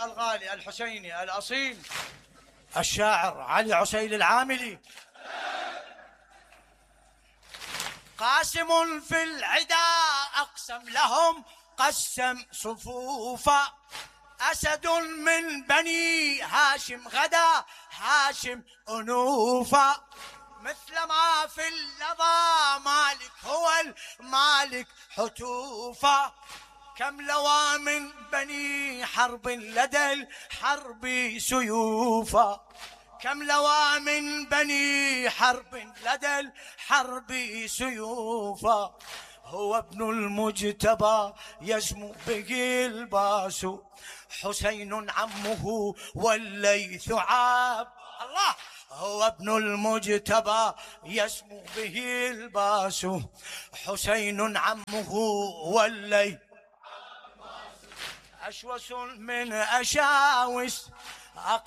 الغالي الحسيني الأصيل الشاعر علي عسيل العاملي. قاسم في العدا أقسم لهم قسم صفوفا، أسد من بني هاشم غدا هاشم أنوفا، مثل ما في اللظى مالك هو المالك حتوفا، كم لوى من بني حرب لدى الحرب سيوفا، كم لوى من بني حرب لدى الحرب سيوفا، هو ابن المجتبى يسمو به الباس، حسين عمه والليث عاب الله، هو ابن المجتبى يسمو به الباس، حسين عمه والليث أشوس من أشاوس